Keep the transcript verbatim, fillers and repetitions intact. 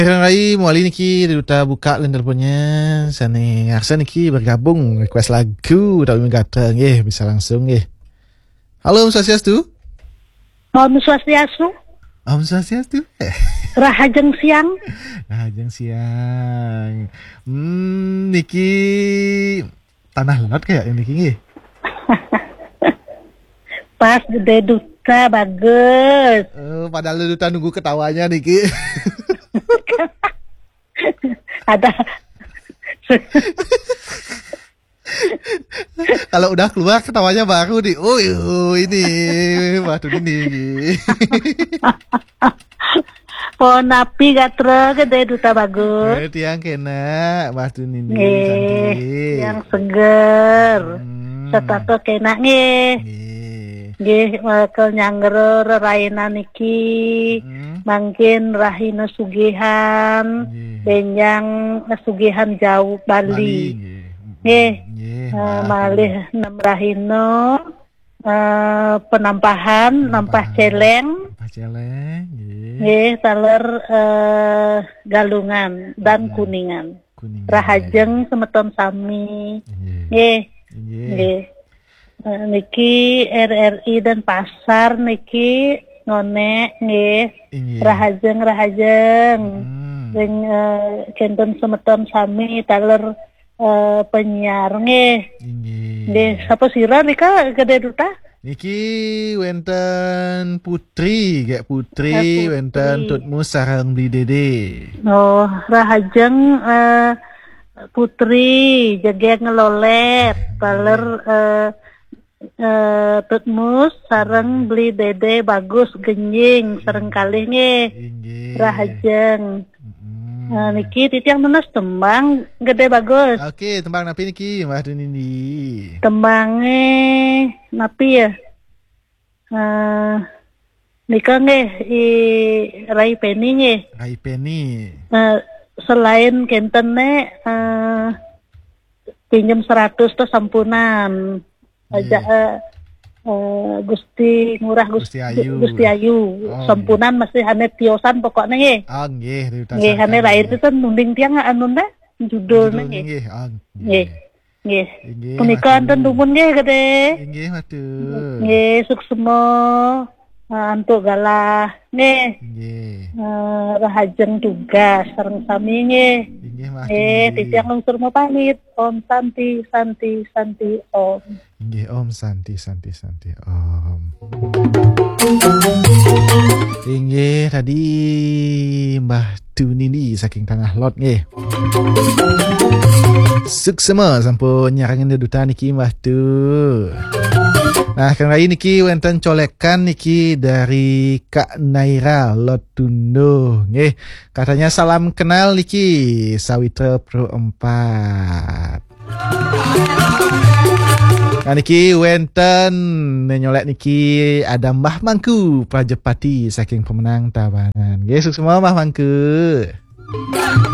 Rai, mawali niki Duta buka line teleponnya. Sane ngarsa niki bergabung request lagu utawi gatra nggih, bisa langsung nggih. Halo, Om Swastiastu. Om Swastiastu. Om Swastiastu. Rahajeng siang. Rahajeng siang. Hmm, niki Tanah Lot kayak ini nggih. Pas Gede Duta bagus. Eh, padahal Duta nunggu ketawanya niki. Ada. Kalau udah keluar ketawanya baru nih. Oh, oh, ini Mbah Tunini. Pon napi gatra Gede Duta bagus. Eh, tiang kena Mbah Tunini. Nggih, santi. Yang seger. Hmm. Setata kena nggih. Nggih. Nggih, bakal nyanggra rerainan niki. Hmm. Mangkin rahina sugihan, nggih. Benjang sugihan jauh Bali. Bali, nggih. Nggih. Nggih, eh, Mbah. Malih nem rahina, eh, penampahan, penampahan. Nampah Celeng. Nampah Celeng, nggih. Nggih, taler, eh, Galungan dan Galungan. Kuningan. Kuningan. Rahajeng semeton sami. Nggih. Nggih. Nggih. Nggih. Eh, niki R R I Denpasar niki ngonek nggih. Inggih. Rahajeng, rahajeng. Hmm. Ring, eh, kenten semeton sami taler, eh, penyiar nggih. Inggih. Nggih, sapa sira nika Gede Duta? Niki wenten Putri, gek Putri, eh, Putri. Wenten Tutmu sareng Bli Dede. Oh, rahajeng, eh, Putri, jegeg ngelolet, taler, eh, eh, Tutmus sareng Beli Dede bagus genjing sareng kalih nggih. Inggih. Rahajeng. Mm-mm. Eh, niki titiang nunas tembang Gede bagus. Oke, tembang napi niki, Mbah Tunini? Tembange napi ya? Eh, nika nggih, I Rai Peni nggih. Rai Peni. Eh, selain kenten ne, eh, pinjem seratus to sampunan. Nggih. Aja, eh, eh, Gusti Ngurah Gus-, Gusti Ayu. Gusti Ayu. Oh, nggih. Sampunan masih ane tiosan pokoknya nggih. Ah, nggih, Rita nggih, Sari ane kan, lain nggih. Itu nunding tiang anu ne judulnya. Judulnya nggih. Nggih. Ah, nggih. Nggih. Nggih, punika matur. Anten dumun nggih, Gede. Nggih, matur. Nggih, suksema. Eh, antuk galah. Nggih. Nggih. Eh, rahajeng tugas sareng sami nggih. Inggih, matur. Nggih, titiang lungsur mapamit. Om Santi, Santi, Santi, Om. Inggih, Om Santi, Santi, Santi, Om. Inggih, tadi Mbah Tunini saking Tanah Lot nggih. Suksema sampun nyarengin dedutan niki Mbah Tu. Nah, kang rai niki wenten colekan niki dari Kak Naira Lot Tunduh nggih. Katanya salam kenal niki Sawitra Pro empat. Nah, niki wenten nyolek niki ada Mbah Mangku Prajepati saking Pemenang Tabanan. Nggih, suksema Mbah Mangku.